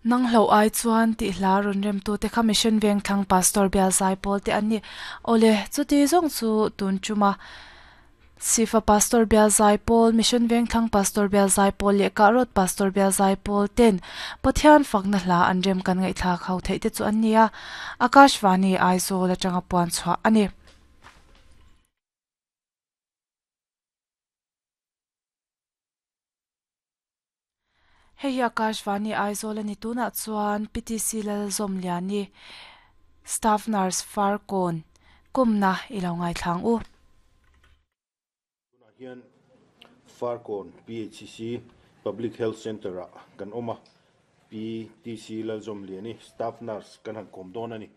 Nang hloh ai chuan tih hla rawn remtute kha Mission Vengthlang Pastor Bial Zaipawl te an ni. Awle, chuti zawng chu tun tuma Sifa Pastor Bial Zaipawl, Mission Vengthlang Pastor Bial Zaipawl leh Kahrawt Pastor Bial Zaipawl ten Pathian fakna hla an rem kan ngaihthlak ho theih te chu an ni a, Akashvani Aizawl atanga puan chhuah a ni. Hei hi Akashvani Aizawl a ni tunah chuan PTC Lalzawmliani Staff Nurse Farkawn kumna i lo ngaithlang u. Tunah hian Farkawn PHCC Public Health Centre ah kan awm a, PTC Lalzawmliani Staff Nurse kan han kawm dawn a ni.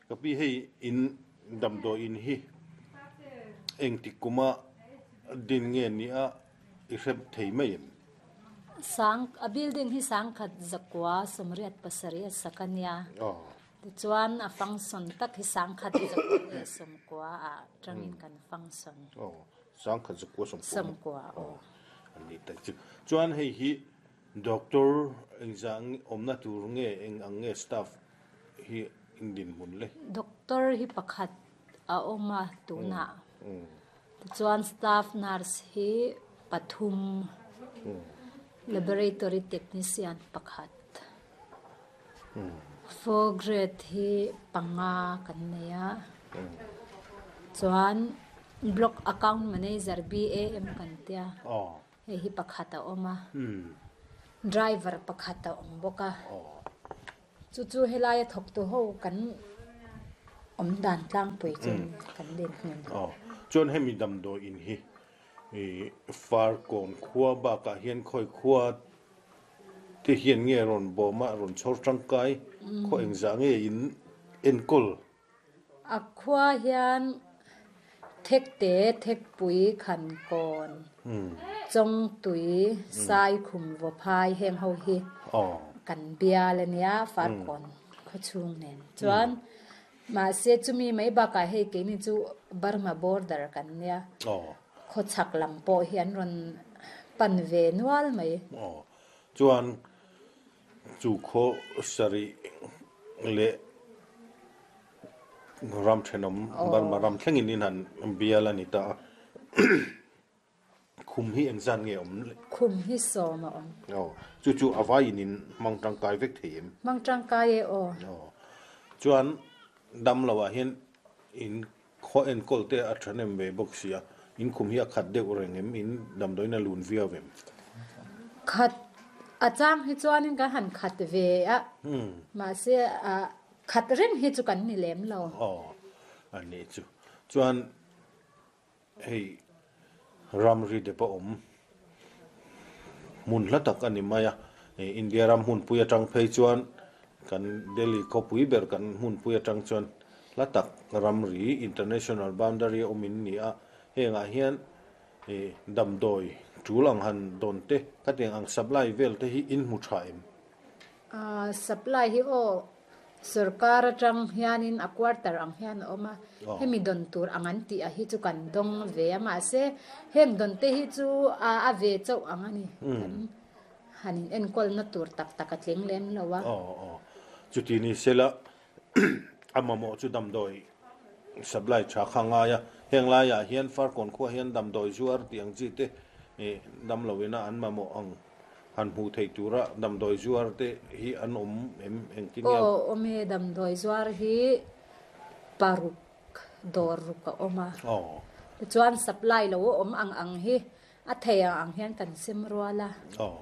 Ka pi hei in damdawi in hi engtik kuma din nge nia i hrep thei mai em? Sang, a building hi sangkhat zakua 87 a sak a nia. Tichuan a function tak hi sangkhat zakua leh sawmkua ah tangin kan function. Aw, sangkhat zakua sawmkua. Sawmkua, aw. An ni tak chu. Chuan hei hi doctor engzah awmna tur nge eng ang nge staff hi in dinhmun le? Doctor hi pakhat a awm a tunah. Tichuan staff nurse hi pathum, laboratory technician pakhat, four grade hi panga kan nei a, chuan block account manager BAM kan tia hei hi pakhat a awm a, driver pakhat a awm bawk a. Chu chu helaia thawktu ho kan awm dan tlangpui chu kan din hmun. Aw, chuan hemi damdawi in hi Farkawn khua bakah hian khawi khua te hian nge rawn bawm a, rawn chhawr tangkai khaw engzah nge in enkawl? A khua hian Thekte, Thekpui, Khankawn, Chawngtui, Saikhum, Vawphai heng ho hi kan bial a nia Farkawn khawchhung nen chuan mahse chumi mai bakah hei keini chu Burma border kan nia khawchhak lam pawh hi an rawn pan ve nual mai. Chuan Chu khaw sarih leh ram thenawm Burma ram thlengin in han bial a ni ta a. Khum hi engzat nge awm le? Khum hi sawm a awm. Aw, chu chu a vaiin in hmang tangkai vek thei em? Hmang tangkai e aw. Aw, chuan damlo ah hian in khaw enkawl te a thahnem ve bawk si a, in khum hi a khat deuh reng em? In damdawiin a lun viau em? Khat a chang hi chuanin kan han khat ve a, mahse khat reng hi chu kan ni lem lo. Aw, a nih chu. Chuan hei ramri dep a awm hmun hla tak a ni mai a, India ram hmunpui atang phei chuan kan Delhi khawpui ber kan hmunpui atang chuan hla tak ramri international boundary a awm in ni a, hengah hian damdawi tul ang han dawn te khatiang ang supply vel te hi in hmu tha em? Supply hi aw Sorkar atang hianin a quarter ang hian a awm a, hemi dawn tur ang an tih a hi chu kan dawng ve a, mahse heng dawn te hi chu a ve chauh ang a ni, kan han in enkawlna tur tak tak a tling lem lo a. Aw aw, chuti ni sela a mamawh chu damdawi supply tha kha ngai a, heng laiah hian Farkawn khuah hian damdawi zuar tih ang chi te damloina an mamawh ang. Han hmuh theih tura damdawi zuar te hi an awm em engtin nge? Aw awm e, damdawi zuar hi paruk dawr ruk a awm a. Aw. Tichuan supply lo a awm ang ang hi a thei ang ang hian kan sem rual a. Aw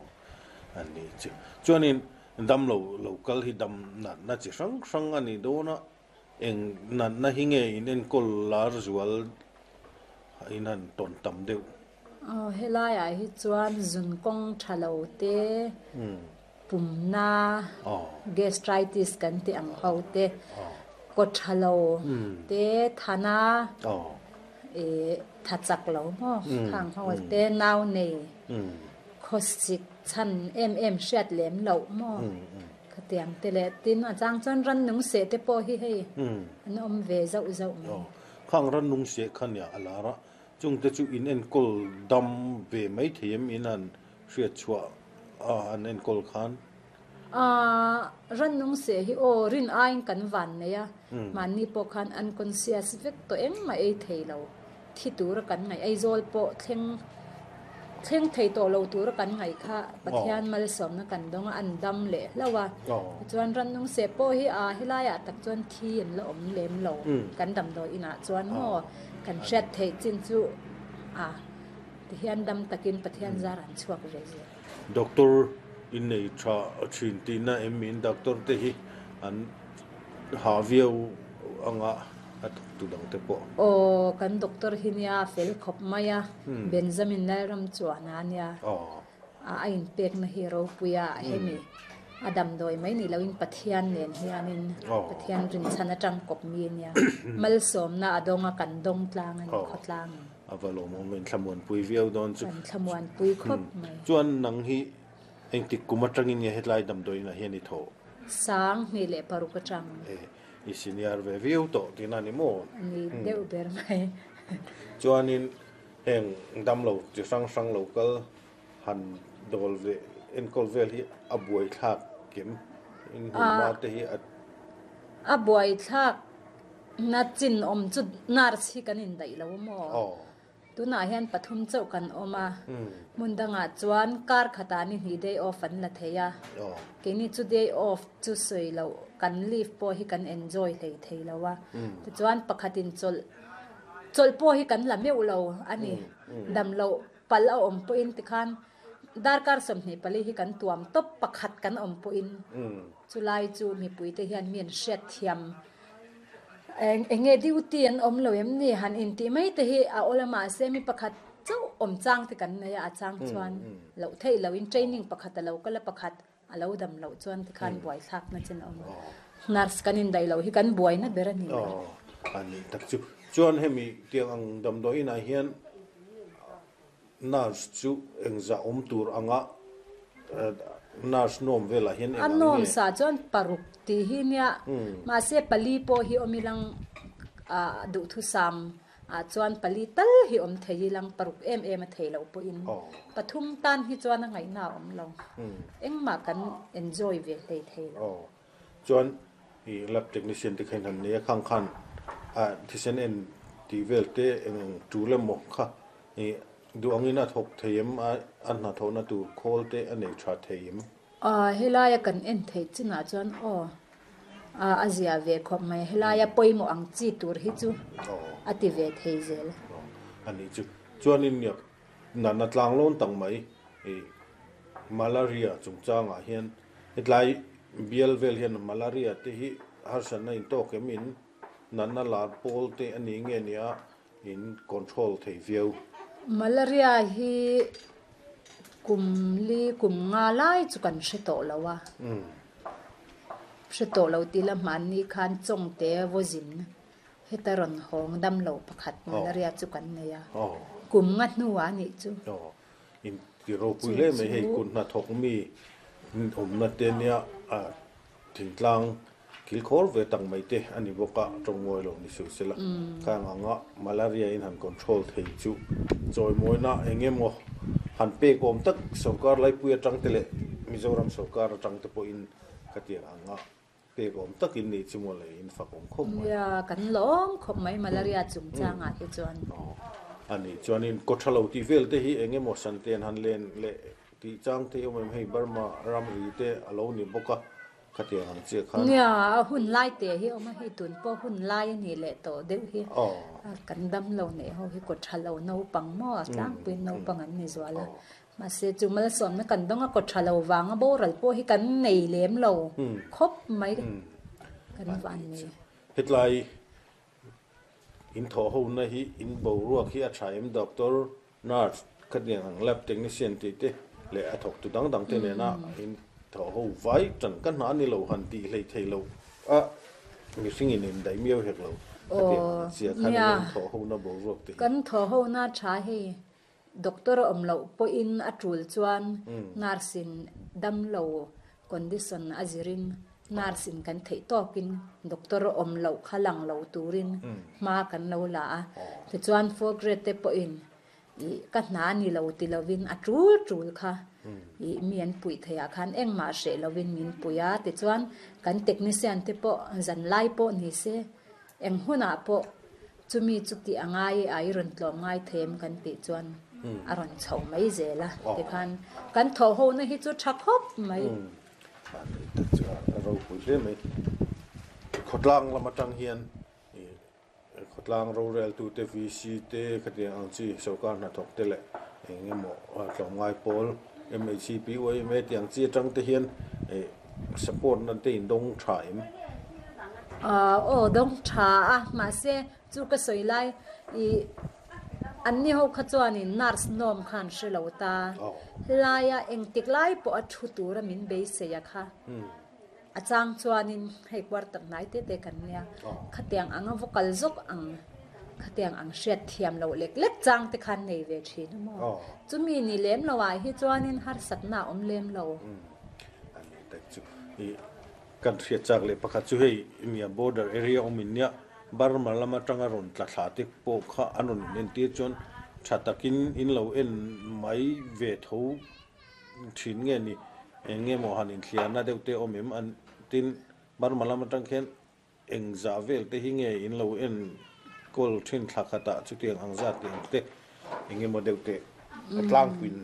a ni chu. Chuanin damlo lo kal hi dam natna chi hrang hrang a ni dawn a, eng natna hi nge in enkawl lar zual in han tawn tam deuh? Aw helaiah hi chuan zun kawng tha lo te, pumna, gastritis kan tih ang ho te, kaw tha lo te, thana, ih tha chak lo maw khang ho te, nau nei, khawsik chhan em em hriat lem loh maw khatiang te leh tin a chang chuan rannung seh te pawh hi hei an awm ve zauh zauh mai. Khang rannung seh kha nia a lar a, Chungte chu in enkawl dam ve mai thei em? In han hriat chhuah a an enkawl khan. Aaa rannung seh hi aw rin aiin kan van nei a, mahni pawh khan unconscious vek tawh engmah ei thei lo, thi tura kan ngaih Aizawl pawh thleng thleng thei tawh lo tura kan ngaih kha Pathian malsawmna kan dawng a, an dam leh hlauh a. Tichuan rannung seh pawh hi aa helaiah tak chuan thi an la awm lem lo kan damdawi inah chuan maw kan hriat theih chin chu aa tihian dam takin Pathian zar an chhuak ve zel. Doctor in nei tha thin tihna em miin doctor te hi an ha viau anga a thawk tu dang te pawh. Aw kan doctor hi nia fel khawp mai a, Benjamin Lalram chuan a nia a inpekna hi ropui a hemi a damdawi mai ni loin Pathian nen hianin Pathian rinchhan atang kawp mi a nia, malsawmna a dawng a kan dawng tlang a ni khawtlang in. A va lawmawm in thlamuanpui viau dawn chu. Kan thlamuanpui khawp mai. Chuan nang hi engtik kum atangin nge hetlai damdawiin ah hian i thawh? 2006 atang. E, i senior ve viau tawh tihna a ni maw? Ni deuh ber mai. Chuanin heng damlo chi hrang hrang lo kal han dawl ve enkawl vel hi a buaithlak kem in hmunhma te hi a. A buaithlak Na chin awm chu nurse hi kan indaih lo maw? Tunah hian pathum chauh kan awm a, hmun dangah chuan kar khatah ni hnih day off an la thei a, keini chu day off chu sawi loh kan leave pawh hi kan enjoy hlei thei lo a, tichuan pakhatin chawlh chawlh pawh hi kan la meuh lo a ni, dam loh palh a awm pawhin tikhan darkar 24 hi kan tuam tawp pakhat kan awm pawhin chulai chu mipuite hian mi an hriatthiam. Eng enge duty an awm lo em ni han intih mai te hi a awl a mahse mi pakhat chauh awm chang te kan nei a a chang chuan loh theih loh in training pakhat a lo kal a pakhat a lo dam loh chuan tikhan buai thlak na chin a awm a nurse kan indaih loh hi kan buaina ber a ni ber. A ni tak chu chuan hemi tiang ang damdawi inah hian Nurse chu engzah awm tur anga nurse nuam velah hian eng ang nge? A nuam sa chuan paruk tih hi nia, mahse pali pawh hi awm ilang duhthusam ah chuan pali tal hi awm thei ilang paruk em em a thei loh pawhin pathum tan hi chuan a ngaihna a awm lo, engmah kan enjoy ve hlei thei lo. Chuan i lab technician te kha in han nei a, khang khan thisen en tih vel te eng ang tul emaw kha i duh angin a thawk thei em a, a hnathawhna tur khawl te a nei tha thei em? Helaia kan en theih chinah chuan aw a zia ve khawp mai, helaia pawimawh ang chi tur hi chu a ti ve thei zel. A nih chu. Chuanin Natna tlanglawn tak mai i malaria chungchangah hian hetlai bial vel hian malaria te hi harsatna intawk em in natna lar pawl te a ni nge nia in control thei viau. Malaria hi kum li kum nga lai chu kan hre tawh lo a, hre tawh lo tih la hmanni khan chawngte vawzin Heta rawn hawng dam lo pakhat malaria chu kan nei a, kum nga hnuah a nih chu. Aw, in ti ropui hle mai hei kut hnathawk mi awmna te nia thingtlang kilkhawr ve tak mai te a ni bawk a, tawng ngawi lo ni suh sela. Khang anga malaria in han control thei chu chawimawina eng emaw han pek awm tak sorkar laipui atang te leh Mizoram sorkar atang te pawhin khatiang anga Pek awm takin nih chu maw le, in fak awm khawp mai. Nia, kan lawm khawp mai malaria chungchangah te chuan. Aw, a nih chuanin kaw tha lo tih vel te hi eng emaw santen han len leh tih chang te hi awm em hei Burma ramri te a lo ni bawk a, khatiang ang chiah khan. Nia, a hun lai te hi awm a, hei tun pawh hun lai a nih leh tawh deuh hi. Kan dam lo neih ho hi kaw tha lo naupang maw a tlangpuiin naupang an ni zual a. Mahse, chu malsawmna kan dawng a, kaw tha lo vanga boral pawh hi kan nei lem lo khawp mai kan van nei. Hetlai in thawh hona hi in boruak hi a tha em doctor, nurse, khatiang ang lab technician tih te leh a thawktu dang dang te nena in thawh ho vai tan ka hna ni lo han tih hlei thei lo a mihring in indaih miau hek lo khatiang ang chiah khan in thawh hona boruak te hi. Kan thawh hona tha hei Doctor a awm loh pawhin a tul chuan nurse in damlo condition a zirin nurse in kan theih tawkin doctor a awm loh kha lang lo turin hma kan lo la a. Tichuan fourth grade te pawhin ih ka hna ni lo ti lovin a tul tul kha. Ih mi an puih theih ah khan engmah hreh lovin min pui a, tichuan kan technician te pawh zan lai pawh ni se eng hunah pawh chumi chu tih a ngai e a i rawn tlawm ngai thei em kan tih chuan a rawn chho mai zel a, tikhan kan thawh ho na hi chu tha khawp mai. Tak chu a ropui hle mai. Khawtlang lam atang hian Khawtlang roreltute, VC te, khatiang ang chi sorkar hnathawk te leh eng emaw tlawmngai pawl, MHCP, YMA tih ang chi atang te hian support na te in dawng tha em? Aw dawng tha a, mahse chu ka sawi lai ih an ni ho kha chuanin nurse nawm khan hre lo ta, helaia engtik lai pawh a thu tura min beisei a kha. A chang chuanin hei quarter hnai te te kan nia, khatiang anga va kal zawk ang, khatiang ang hriat thiam loh lek lek chang te khan nei ve thin a maw? Chumi ni lem lo ah hi chuanin harsatna a awm lem lo. A ni tak chu i kan hriat chak leh pakhat chu hei nia border area awm in nia Burma lam atanga rawn tla thla te pawh kha an rawn in entir chuan tha takin in lo en mai ve tho thin nge ni? Eng nge maw han inthliarna deuh te awm em? An tin, Burma lam atang khian eng zah vel te hi nge in lo en kawl thin thla khatah chutiang ang zat tih ang te eng nge maw deuh te a tlangpuiin.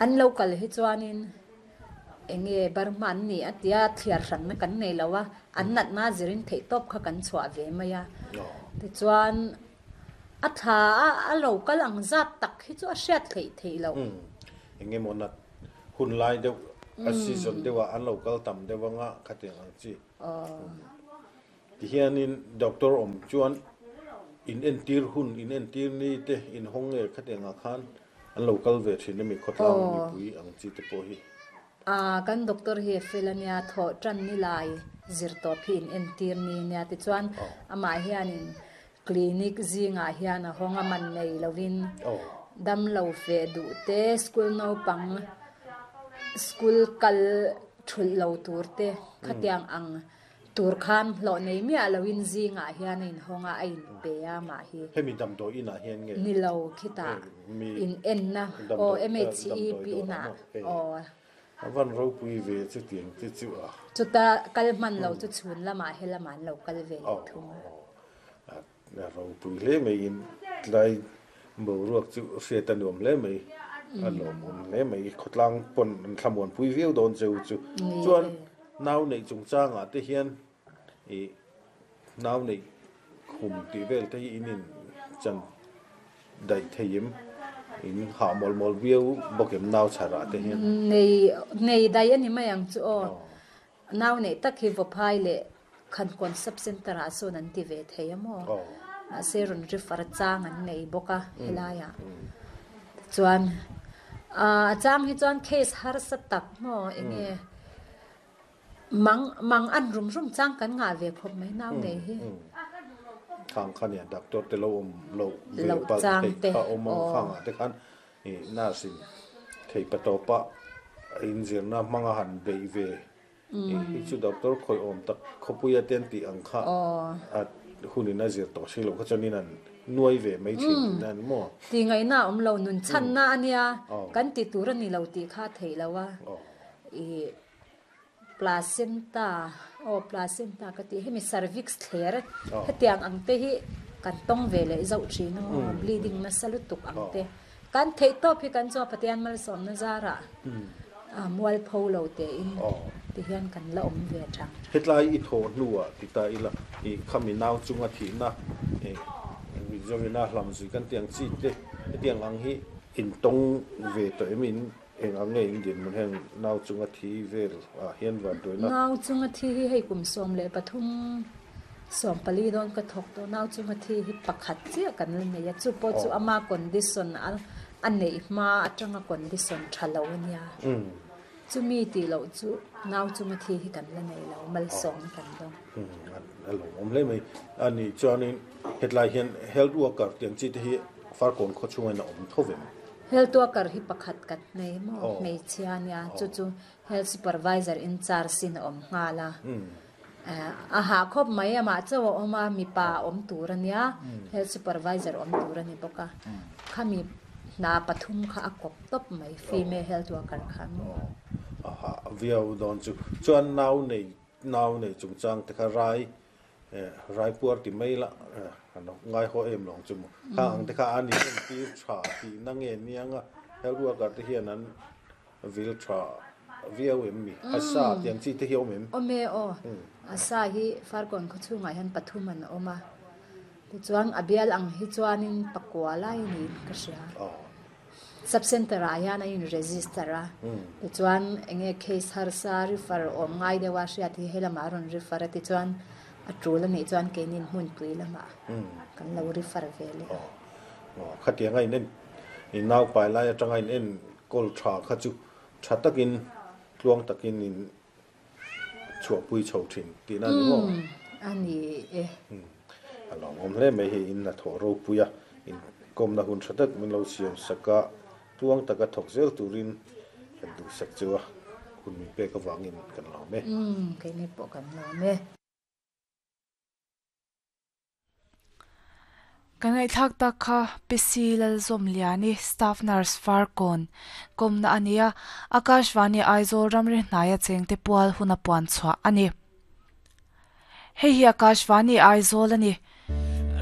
An lo kal hi chuanin eng nge Burma an ni a tia thliar hranna kan nei lo a, an natna zirin theihtawp kha kan chhuah ve mai a. Tichuan A thla a a lo kal ang zat tak hi chu a hriat theih theih loh. Umm. Eng emaw nat hun lai deuh a season deuh ah an lo kal tam deuh anga khatiang ang chi. Umm. Tihianin doctor awm chuan in entir hun in entir ni te in hawng nge khatiang ah khan an lo kal ve thin ami khawtlang mipui ang chi te pawh hi. A, kan doctor hi a fel a nia, thawh tan ni lai zir tawp hi in entir ni nia tichuan amah hianin clinic zingah hian a hawng a man nei lovin damlo feh duh te, school naupang school kal thulh lo tur te khatiang ang Tur khan hlawh nei miah loin zingah hian a inhawng a, a inpe a mah hi. Hemi damdawi inah hian nge? Ni lo, khitah in enna aw MHEP inah aw. A van ropui ve chutiang te chu a. Chuta kal hman lo chu chhun lamah he lamah an lo kal ve leh thung a. A ropui hle mai in tlai boruak chu hriat a nuam hle mai, a lawmawm hle mai, khawtlang pawn an thlamuanpui viau dawn cheu chu. Chuan nau neih chungchangah te hian ih nau neih khum tih vel te hi in in chan daih thei em? In hah mawl mawl viau bawk em nau chharah te hian? Nei nei daih a ni mai ang chu aw. Nau neih tak hi Vaphai leh Khankawn Sub Centre ah sawn an ti ve thei a maw? Mahse rawn refer chang an nei bawk a helaiah. Tichuan a chang hi chuan case harsa tak maw enge mang mang an rum rum chang kan ngah ve khawp mai nau nei hi. Khang kha nia doctor te lo awm loh ve palh theih kha awm ang khangah te khan Nurse in thei patawpa inzirna hmanga han beih ve hi chu doctor khawih awm tak khawpuia te an tih ang kha a hunin a zir tawh si loh kha chuanin an nuai ve mai thin tihna a ni maw? Tih ngaihna a awm lo, nun chhanna a nia, kan ti tur a ni lo tih kha a theih lo a, ih placenta aw placenta ka tih hemi cervix thler hetiang ang te hi kan tawng ve leh zauh thin a maw bleeding nasa lutuk ang te kan theih tawp hi kan chuan Pathian malsawmna zarah mualpho lo tein ti hian kan la awm ve thang. Hetlai i thawh hnuah ti ta ila i khami nau chunga thihna Mizovina hlamzui kan tih ang chi te hetiang ang hi intawng ve tawh em in Eng ang nge in dinhmun heng nau chunga thi vel ah hian van tuaina? Nau chunga thi hi hei kum 13, 14 dawn ka thawk tawh. Nau chunga thi hi pakhat chiah kan la nei a, chu pawh chu ama condition a neih hma atanga condition tha lo a nia. Chumi tih loh chu nau chunga thi hi kan la nei lo, malsawm kan dawng. A lawmawm hle mai. A nih chuanin hetlai hian health worker tih ang chi te hi Farkawn khaw chhungin a awm tho ve maw? Health worker hi pakhat kan nei maw? Hmeichhia a nia, chu chu health supervisor in charge in a awm nghal a. A hah khawp mai, amah chauh a awm a, mipa awm tur a nia, health supervisor awm tur a ni bawk a. Khami Hna pathum kha a kawp tawp mai, female health worker khan. A hah viau dawn chu. Chuan nau nei nau nei chungchang te kha rai rai puar ti mai la an lo ngai haw em lo ang chu maw. Kha ang te kha an in entir tha tihna nge niang a, health worker te hian an vil tha viau em mi? A sa tih ang chi te hi a awm em? Awm e aw. A sa hi Farkawn khawchhungah hian pathum an awm a. Tichuan a bial ang hi chuanin pakua lai a niin ka hria. Sub center ah hian a in register a, tichuan enge case harsa refer awm ngai deuh a hriat hi helamah a rawn refer a, tichuan a tul a nih chuan keinin hmunpui lamah kan lo refer ve leh a. Khatianga in en in naupai lai atanga in en kawl tha kha chu tha takin tluang takin in chhuahpui chho thin tihna a ni maw? Umm, a ni e. A lawmawm hle mai hei in hnathawh ropui a, inkawmna hun tha tak min lo siam sak a, tluang taka thawk zel turin kan duhsak chu a, hun min pek avangin kan lawm e. Umm, keini pawh kan lawm e. Kan ngaihthlak tak kha Pc Lalzawmliani, Staff Nurse Farkawn, kawmna a ni a, Akashvani Aizawl ramri hnaia chengte pual huna puan chhuah a ni. Hei hi Akashvani Aizawl a ni.